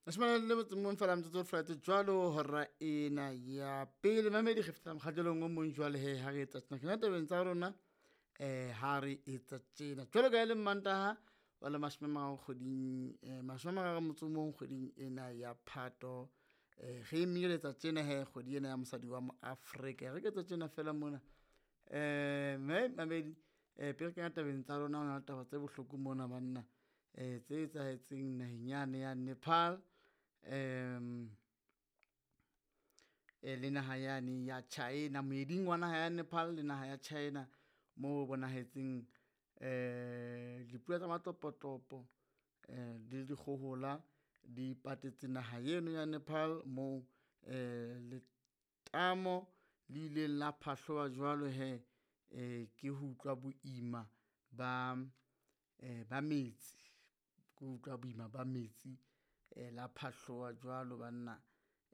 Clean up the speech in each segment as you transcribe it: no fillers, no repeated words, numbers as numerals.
Mashome le motso mong fela metsotso fela jwalo hora ena ya pele. Mamedi re fetela mokgahlelong o mong jwale he ha re etsa tjena. Kena tabeng tsa rona ha re etsa tjena. Jwalo ka e le Mantaha wa le 30 kgweding 31 kgweding ena ya Phato. Re emeletsa tjena he kgwedi ena ya mosadi wa mo Afrika. Re ke etsa tjena fela mona. Mme mamedi pele re kena tabeng tsa rona hona le taba tse bohloko mona banna. Tse etsahetseng naheng yane ya Nepal le naha yane ya China, moeding wa naha ya Nepal le naha ya China moo bonahetseng dipula tsa matopotopo le dikgohola di patetse naha eno ya Nepal moo letamo le ileng la phahloha jwalo he ke ho utlwa boima ba metsi, ke ho utlwa boima ba metsi la phahloha jwalo banna.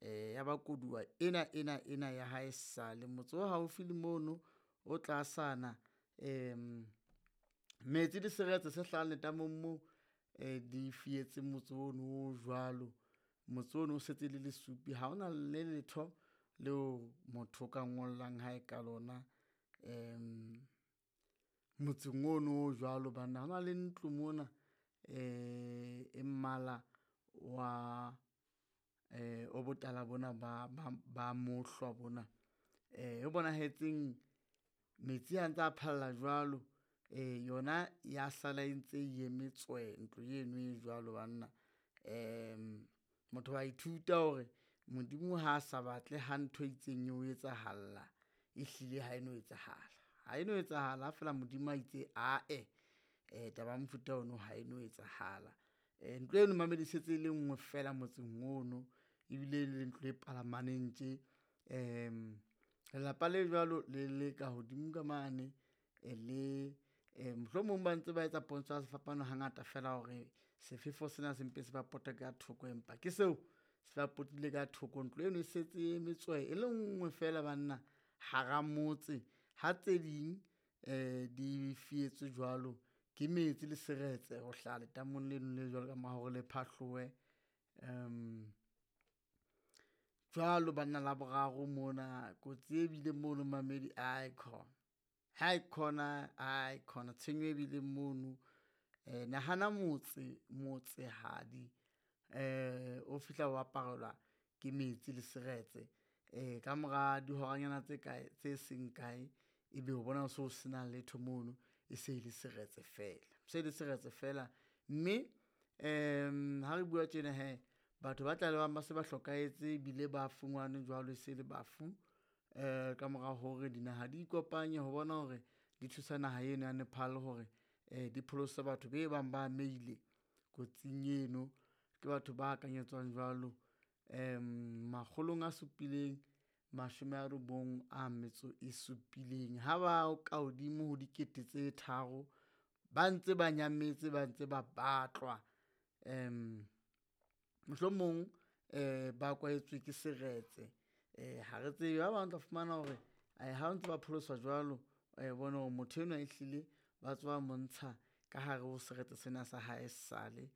Ya ba koduwa ena ena ena ya haesale motse o haufi le mono o tlasana metsi le seretse se hlahang letamong moo di fietse motse ono o jwalo. Motse ono o setse le lesupi, ha hona le letho leo motho o ka ngollang hae ka lona motseng ono o jwalo banna. Hona le ntlo mona e mmala wa o botala bona ba mohlwa bona. E bonahetseng metsi a ntsa phalla jwalo yona ya sala e ntse e eme tswe ntlo eno e jwalo banna. Motho wa ithuta hore Modimo ha sa batle ha ntho e itseng eo etsahalla, ehlile ha eno etsahala. Ha eno etsahala ha fela Modimo a itse ae taba ya mofuta ono ha eno etsahala. Ntlo eno mamedi e setse e le nngwe fela motseng ono ebile le ntlo e palamaneng tje. Lelapa le jwalo le le ka hodimo ka mane le mohlomong ba ntse ba etsa pontsho ya sefapano hangata fela hore sefefo sena se mpe se ba pote ka thoko, empa ke seo se ba potile ka thoko. Ntlo eno e setse e eme tswe e le nngwe fela banna hara motse, ha tse ding di fietswe jwalo ke metsi le seretse ho hlaha letamong leno le jwalo ka mora hore le phahlohe. Jwalo banna Laboraro mona kotsi e bile mono mamedi aikhona, haikhona aikhona tshenyo e bileng mono. Nahana motse motsehadi o fihla o aparelwa ke metsi le seretse ka mora dihoranyana tse kae tse seng kae, ebe o bona ho so sena letho mono e se le seretse fela, se le seretse fela. Mme ha re bua tjena hee batho ba tlalehwang ba se ba hlokahetse ebile ba fumanwe jwalo e se le bafu ka mora hore dinaha di ikopanye ho bona hore di thusa naha eno ya Nepal hore di pholose batho be bang ba amehile kotsing eno. Ke batho ba akanyetswang jwalo 797, ha ba ka hodimo ho 3000 ba ntse ba nyametse, ba ntse ba batlwa. Mohlomong ba kwahetswe ke seretse ha re tsebe. Ba bang o tla fumana hore ha ntse ba pholoswa jwalo, bone hore motho enwa ehlile ba tswa montsha ka hare ho seretse sena sa hae sale.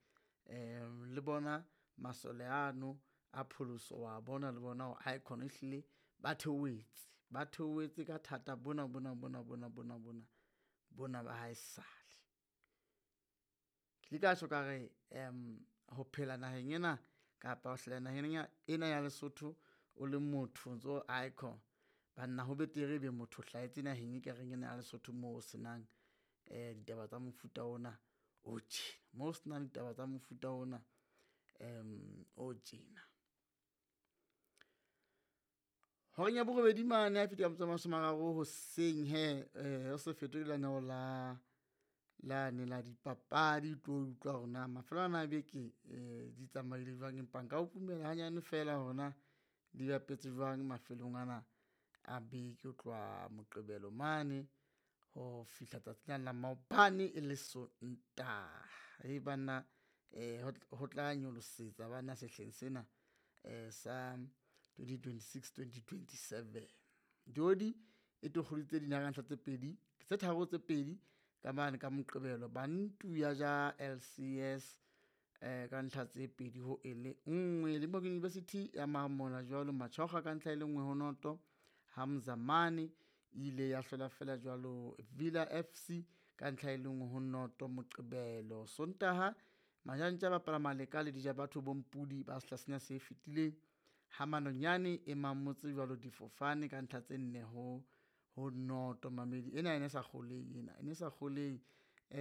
Le bona masole ano a pholoso wa bona le bona hore aekhona ehlile ba theohetse, ba theohetse ka thata bona bona bona bona bona bona bona ba haesale. Ke ile ka tjho ka re ho phela naheng ena kapa ho hlaha naheng ena ya Lesotho o le motho o ntso aekhona banna, ho betere ebe motho o hlahetse naheng ekareng ena ya Lesotho moo ho senang ditaba tsa mofuta ona o tjena, moo ho senang ditaba tsa mofuta ona o tjena. Horeng ya borobedi mane ha e fihla ka metso e 30 hoseng he o se fetwe ke lenaneo la lane la dipapadi, o tlo utlwa hore na mafelo ana a beke di tsamaile jwang, empa nka o pumela hanyane fela hore na di bapetse jwang mafelong ana a beke ho tloha Moqebelo mane ho fihla tsatsing lane la maobane e le Sontaha. Banna ho tla nyolosetsa bana sehleng sena sa 2026-2027. Dioli e tokgoditse dinaka tse pedi tse tharo tse pedi ka mane ka Moqebelo. Bantu ya ja LCS. Ka ntlha tse 2 ho 1. Limpopo University ya mamola jwalo Machokga ka ntlha e le 1 ho 0. Ha Mzamane ile ya hlola fela jwalo Villa FC ka ntlha e le 1 ho 0 Moqebelo. Sontaha Majantja a bapala Maleka le Dijabatho Bompudi ba sehla sena se fetileng. Ha Manonyane e mamotse jwalo difofane ka ntlha tse 4 ho 0. Mamedi ena ene sa kgolehe ena, e ne sa kgolehe.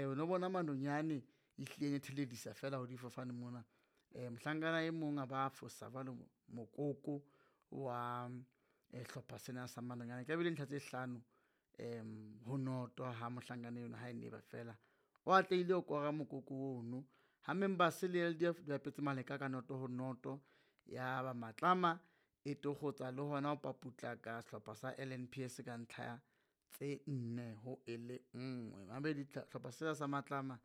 O no bona Manonyane ehlile e theledisa fela ho difofane mona. Mohlankana e mong a ba fosa jwalo mokoko wa hlopha sena sa Manonyane. E tlabe ntlha tse 5 ho 0 ha mohlankana eno ha e ba fela. O atlehile ho kora mokoko ono. Ha Members le LDF di bapetse Maleka ka 0 ho 0. Ya ba Matlama e tokgotsa le hona ho paputlaka sehlopha sa LNPS ka ntlha tse 4 ho 1. Mamedi hlopha sena sa Matlama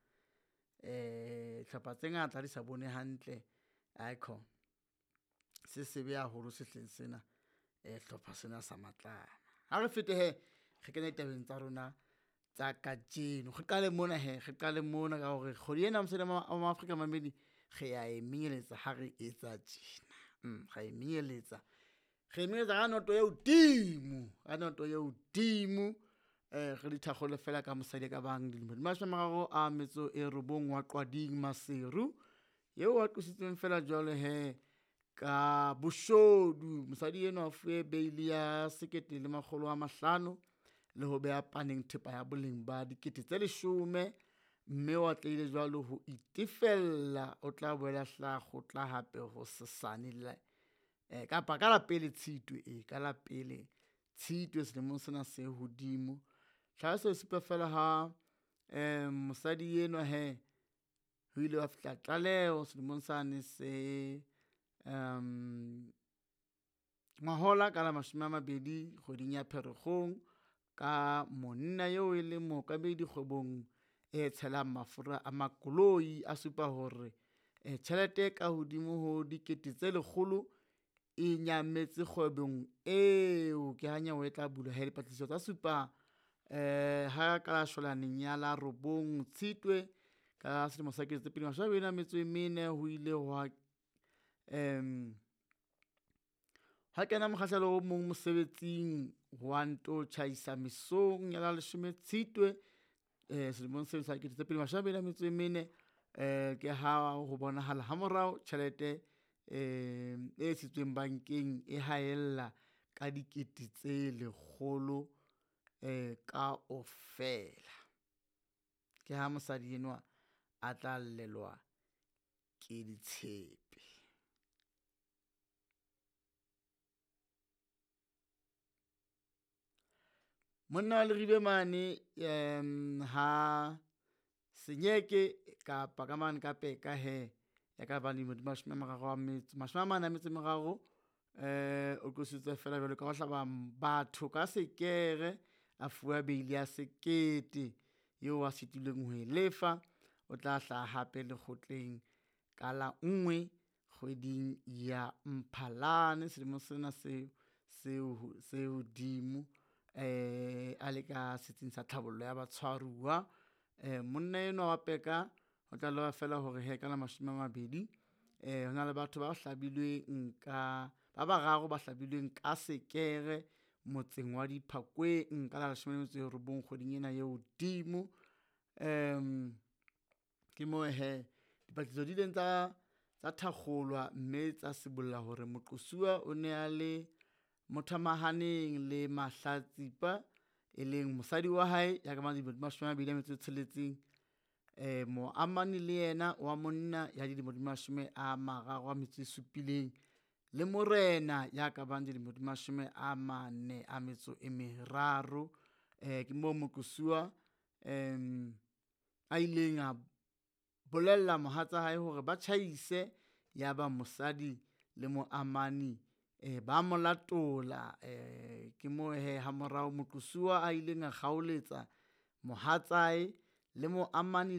hlopha tse ngata di sa bone hantle aikhona se sebe haholo sehleng sena hlopha sena sa Matlama. Ha re fete hee re kene ditabeng tsa rona tsa kajeno. Re qale mona hee, re qale mona ka hore kgwedi ena mosadi wa Afrika mamedi re a e menyeletsa ha re etsa tjena. Re a e menyeletsa, re menyeletsa ka noto e hodimo, ka noto e hodimo. Re di thakgole fela ka mosadi a ka bang dilemo di 39 wa Qwading Maseru, eo a qositsweng fela jwalo hee ka boshodu. Mosadi enwa o fuwe beili ya 1 500 le ho beha paneng thepa ya boleng ba 10 000, mme o atlehile jwalo ho itefella. O tla boela hlaha kgotla hape ho sesane le kapa ka la pele Tshitwe, ka la pele Tshitwe selemong sena se hodimo. Tlhaloso e supa fela ha mosadi enwa hee ho ile hwa fihla tlaleho selemong sane se ngwahola ka la 20 kgweding ya Pherekgong ka monna eo e leng mookamedi kgwebong e tshelang mafura a makoloi. A supa hore tjhelete e ka hodimo ho 100 000 e nyametse kgwebong eo. Ke ha nyewe e tla bulwa hee dipatlisiso tsa supa ha ka la shwalaneng ya la 9 Tshitwe ka selemo sa 2024 ho ile hwa ha kena mokgahlelo o mong mosebetsing wa nto tjhaisa mesong ya la 10 Tshitwe selemong seo sa 2024. Ke ha ho bonahala ha morao tjhelete e isitsweng bankeng e haella ka 100 000 kaofela. Ke ha mosadi enwa a tla llelwa ke ditshepe. Monna wa Leribe mane ha Senyeke kapa ka mane ka Peka hee ya ka bang dilemo di 43 o qositswe fela jwalo ka ho hlaba batho ka sekere, a fuwa beili ya 1 000 eo a sitilweng ho e lefa. O tla hlaha hape lekgotleng ka la 1 kgweding ya Mphalane selemong sena se hodimo a le ka setsing sa tlhabollo ya batshwaruwa. Monna enwa wa Peka o tlaleha fela hore he ka la 20 hona le batho ba hlabilweng ka ba bararo ba hlabilweng ka sekere motseng wa Diphakweng ka la 19 kgweding ena e hodimo. Ke moo hee dipatlisiso di ileng tsa thakgolwa mme tsa sibolla hore moqosuwa o ne a le mothamahaneng le mahlatsipa, e leng mosadi wa hae ya ka bang dilemo di 26, moamani le yena wa monna ya dilemo di 37 le morena ya ka bang dilemo di 43. Ke moo moqosuwa a ileng a bolella mohatsa hae hore ba tjhaise, ya ba mosadi le moamani ba mo latola. Ke moo hee ha morao moqosuwa a ileng a kgaoletsa mohatsae le moamani.